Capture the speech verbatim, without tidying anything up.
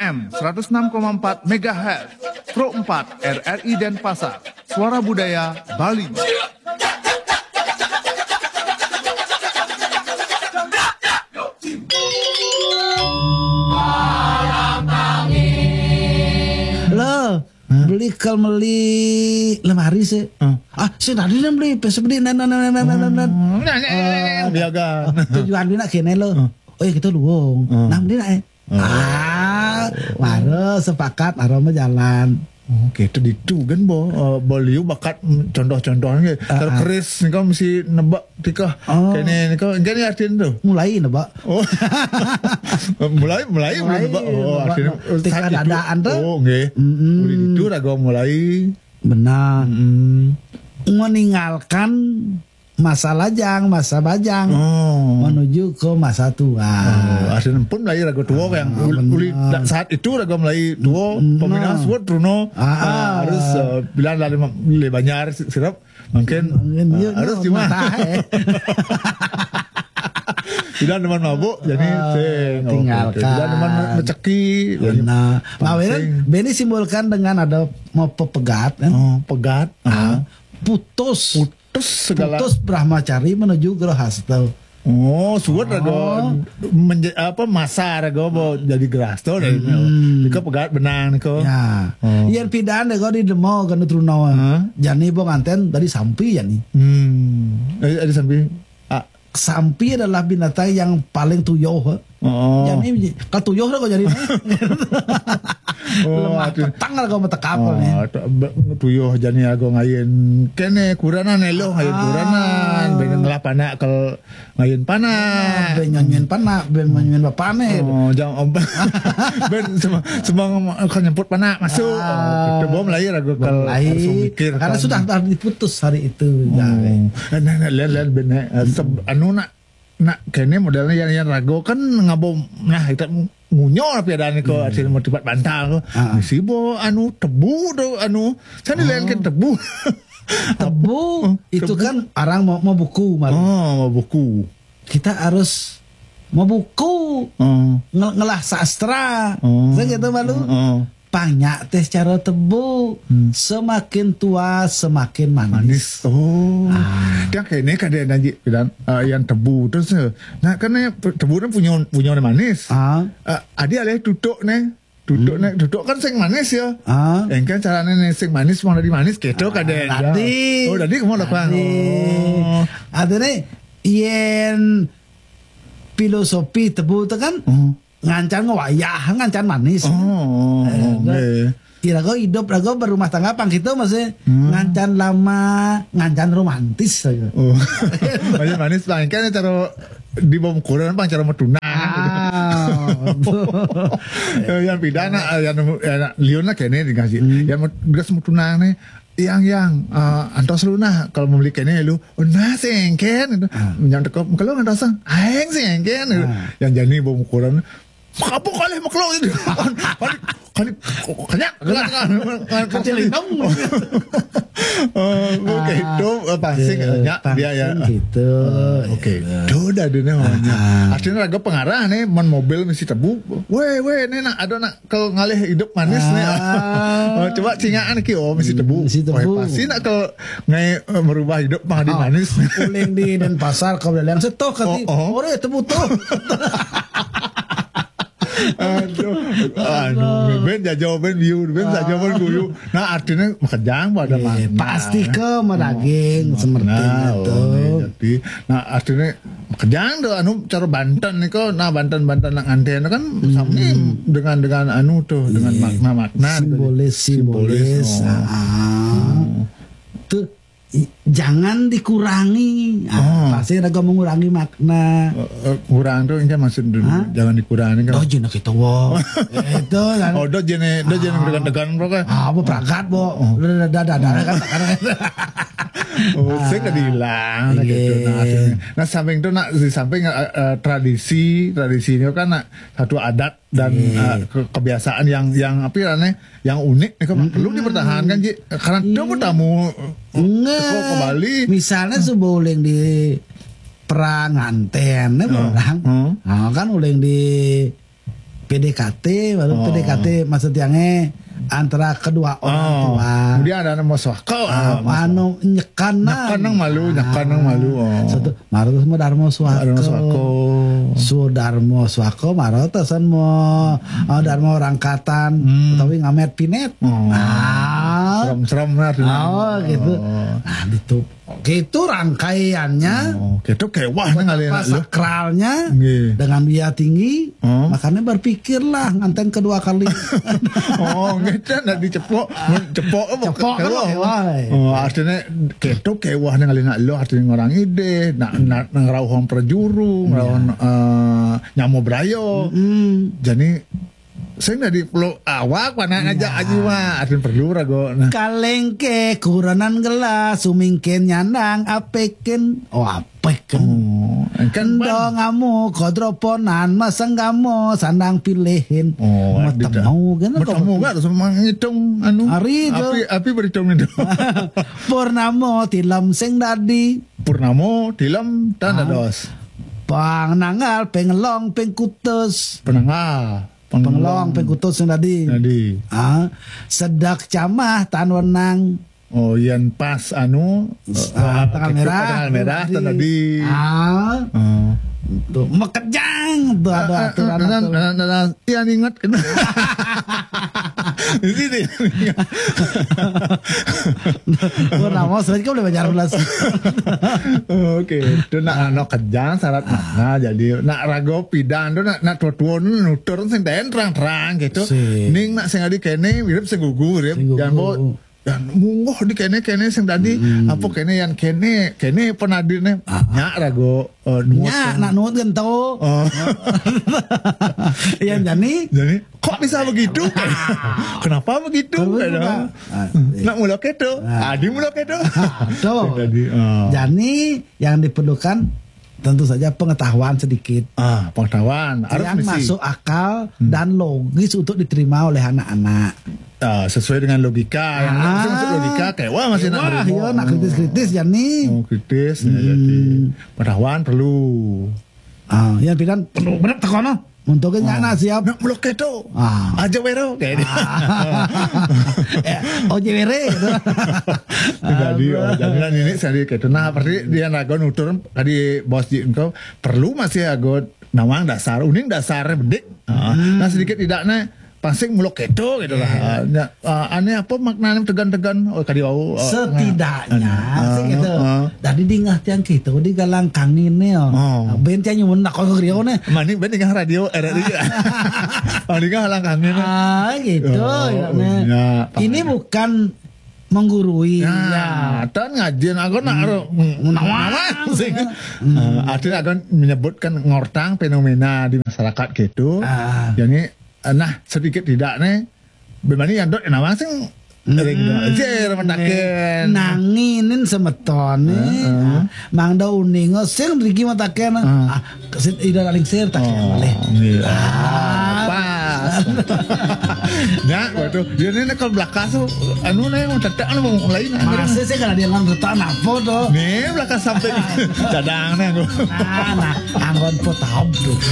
M seratus enam koma empat megahertz, Pro empat R R I Denpasar, Suara Budaya Bali. Lo beli kal meli lemari sih. Ah, si tadi nih beli, pesa beli, nan, nan, nan, nan, nan, nan. Nah, nah, nah, nah, nah, biagan. Tujuan beli nak kene lo. Oh ya kita luong. Nah, beli nak eh. Ah, maro sepakat, maro mah jalan. Oke, itu ditu kan bo, eh, bo liu bakat, mm, contoh-contohnya. Terkeris nih kan mesti nebak tika. Oh. Kene nih kan, kene artinya tuh. Mulai nebak. Oh. Mulai, mulai, Mulai, mulai nebak. Oh, nebak, artinya nebak. Tika saat itu. Dadaan tuh. Oh, nggih. Mm-mm. Mulai itu raga mulai. Benar. Hmm. Meninggalkan masa lajang, masa bajang, Oh. menuju ke masa tua. Oh, artinya pun mulai raga tua yang Ah, ul- benar. uli da- saat itu raga mulai tua, Benar. Pemindahan suat Bruno. Ah, ah. Harus, eh, bilang dari ma- le banjar si- sirap mungkin, Mungkin eh, dia harus nak cuma matah, eh. Tidak teman mabuk, jadi Ah, sing. tinggalkan. Tidak teman meceki. Benar. Nah, Pangsing. Beni simbolkan dengan ada mau pepegat kan? Oh, pegat. Ah, putus. Putus segala. Putus Brahmacari menuju Grahasta. Oh, suat raga menje- apa masa raga mau jadi Grahasta dari. Nika pegat benang nika. Ya. Oh. Yang pidan deh kau di demo kan Truna. Hah? Jani bo nganten dari sampi ya nih. Hmm. Eh, ada sampi. Ah, Sampi adalah binatang yang paling tuyuh. Oh. Jani kalau tuyuh dah kau jadi nih. Oh, Lemah aduh. Petang lah kau metekap nih. Oh, tu- be- tuyuh jani aku ngayen kene kuranan elo ngayen Ah. Kuranan, ben ngelah panak kel ngayen panak. Ben nyanyiin panak, ben nyanyiin bapane. Oh, jam ben semang semang kan nyemput panak masuk. Ah. Oh, kita bom lahir aku kel Lain. harus mikir. Karena Kan. Sudah, sudah diputus hari itu. Jani. Oh. Nah, nah, lihat lihat ben eh, se- anu nak nak kene modelnya yang yang rago kan ngabo nah kita ngunyo tapi ada nih kok hasil mau tibat bantal kok. Ah. Si bo anu tebu tu anu saya dilainkan tebu. Tebu itu kan orang mau mau buku malu. Oh, mau buku. Kita harus mau buku Oh. nge- ngelah sastra. Oh. Saya gitu malu. Oh. Banyak teh cara tebu. Semakin tua semakin manis. Manis. Oh. Yang kene kan dia nanti bilang eh, yang tebu terus eh, nah kan eh, tebu kan punya punya manis. Ah, Eh, adi alih tutuk nih. Tutuk nih, tutuk kan sing manis ya. ah. Yang kan caranya nih sing manis mau dari manis gitu kan deh. Tadi. Oh, tadi kamu lakukan. Tadi. Oh. Artinya yen filosofi tebu itu kan Oh. ngancan ngewayah, ngancan manis. Oh, Eh, oke. Ira kau hidup, ira kau berumah tangga pang kita masih ngancan lama, ngancan romantis saja. Oh. Manis manis bang kan cara di bawah ukuran bang cara mau tunang. Ah, Eh, yang pidana eh, yang yang liun lah kene dikasih. Yang mau gas mau tunang nih. Yang yang eh, antos lu nah kalau mau beli kene lu oh, nah sengken itu. Yang tekop kalau nggak datang aeng sengken itu. Yang jani bawah ukuran apa kali makhluk itu kali kali kenyak Kacil hitam. Oh, oke itu eh, pasti Eh, kenyak dia ya. Gitu. Oke, itu udah deh namanya. Artinya raga pengarah nih, man mobil mesti tebu. Weh, weh, ini nak ada nak kalau ngalih hidup manis nih. Ah. Oh, coba cingaan ki oh mesti tebu. Mesti tebu. Oh, pasti nak kalau ngai eh, merubah hidup mah di manis. Uling di Denpasar kau bilang setoh kati Oh, oh. Orang itu butuh. Aduh, anu, ben jajau ben view, ben jajau ben guyu. Nah, artinya makejang pada Eh, mana? Pasti ke madaging seperti Nah, itu. oh, jadi, nah artinya makejang tuh anu cara Banten nih kok, nah Banten Banten nak nganten kan sami dengan dengan anu tuh dengan makna-makna gitu. Simbolis, simbolis. Oh. Ah. Tuh i- jangan dikurangi. Ah, Oh. Pasti ada mengurangi makna. Eh, eh, kurang tuh ini maksud dulu Hah? jangan dikurangi kan. Oh, jina kita wo. Itu kan. Oh, do jene, do jene dengan tekan bro kan. Ah, apa perangkat, bo? Dah, dah, dah, dah, dah, kan, kan. Oh, saya nggak hilang Iya. gitu. Nah, akhirnya. Nah, samping itu nak di samping eh, eh, tradisi, tradisi ini kan nak satu adat dan eh, ke- kebiasaan yang yang apa ya yang unik nih kan perlu dipertahankan Ji. Karena itu tamu Nge, teko ke Bali. Misalnya sebuah uling di perang nganten nih orang. Hmm. Nah, kan uling di P D K T, baru P D K T maksud tiangnya antara kedua orang tua. Kemudian ada nama suaka, ah, anu nyekanang. Nyekanang malu, nyekanang malu. Oh. Satu, maro terus mau Darmo Suaka. Darmo Suaka. Sudarmo Suaka, maro terus mau, ah, Darmo Rangkatan, tapi ngamet pinet. Oh. Ah. Serem-serem lah. Oh, gitu. Oh. Nah, gitu. Gitu rangkaiannya. Oh, gitu kewah nih ngalih anak lu. Sakralnya. Nggih. Dengan dia tinggi, makanya berpikirlah nganten kedua kali. Oh, nggih, nak dicepok, cepok apa? Cepok kan kewah. Kewah, eh. Oh, artinya gitu kewah nih ngalih anak lu, artinya orang ide, nak, nak ngerauhong perjuru, ngerauhong, eh, nyamo berayo. Jadi sing dadi peluk awak, panak ngajak aji, wah, artinya perlu rago. Nah. Kalengke kuranan gelas, sumingkin nyandang apekin. Oh, apekin. Oh, kan endo ngamu kodroponan, masenggamo sandang pilihin. Oh, matemu kan. Matemu kan, terus menghitung anu. Hari itu. Api, api berhitung itu. Purnamo tilem sing dadi. Purnamo tilem tanda dos. Pangnangal, pengelong, pengkutus. Penangal. Pengelong, pengkutus yang tadi. Tadi. Ah, sedak camah tan wenang. Oh, yang pas anu, ah, tanggal merah, tanggal merah, tadi. Tadi. Ah. Oh. Tuh, mekejang tuh ada aturan. Yang ingat kena. Ini deh. Gua nama sering kau boleh belajar belas. Oke, itu nak anu kejang syarat mana jadi nak rago pidan tu nak, nak tua-tua nutur sing terang-terang gitu. Ning nak sing adi kene mirip sing gugu mirip. Sing gugu. Jangan bawa dan mungguh di kene-kene sing tadi apa kene yang kene kene penadine nyak rago, eh, nuwun. Nyak nak nuwun kan tahu. Oh. Yang jani. Jadi kok bisa begitu? Kenapa begitu? Kenapa begitu? Nak mula keto. Adi mula keto. Tuh. Yang tadi. Jani yang diperlukan tentu saja pengetahuan sedikit. Ah, pengetahuan harus yang masuk akal dan logis untuk diterima oleh anak-anak. Ah, sesuai dengan logika yang masuk logika kayak wah masih nak kritis-kritis ya nih. Oh, kritis ya jadi. Pengetahuan perlu. Ah, yang pilihan perlu benar tekono. Untuk nak siap. Nak melok keto. Ah. Aja wero kayak dia. Oh, jewere gitu. Jadi, oh, jadi ini saya gitu. Nah, berarti dia nagon nutur tadi bos di engkau perlu masih ago nawang dasar, uning dasar bedik. Nah, sedikit tidaknya pasing melok keto gitu lah. Aneh apa maknanya tegan-tegan? Oh, tadi wau. Setidaknya sih gitu. Tadi di ngah tiang kita di galang kangin nih. Ben tiang nyumun nak kau rio nih. Mani ben dengan radio R R I. Mani dengan halang kangin nih. Ah, gitu. Ini bukan menggurui. Nah, tan ngajian aku nak nawang sih. Artinya aku menyebutkan ngortang fenomena di masyarakat gitu. Jadi nah sedikit tidak nih. Bebani yang dot nawang sing ring dot jer mataken. Nanginin semetone. Mang da uningo sing riki mataken. Ah, kesit ida laling sir tak malih. Pas. Ya, waduh, dia ini kalau belakang tuh anu nih mau tetek anu mau lain. Masih sih kalau dia ngan retak napa tuh? Nih belakang sampai cadang nih aku. Nah, nah, anggon potahop tuh.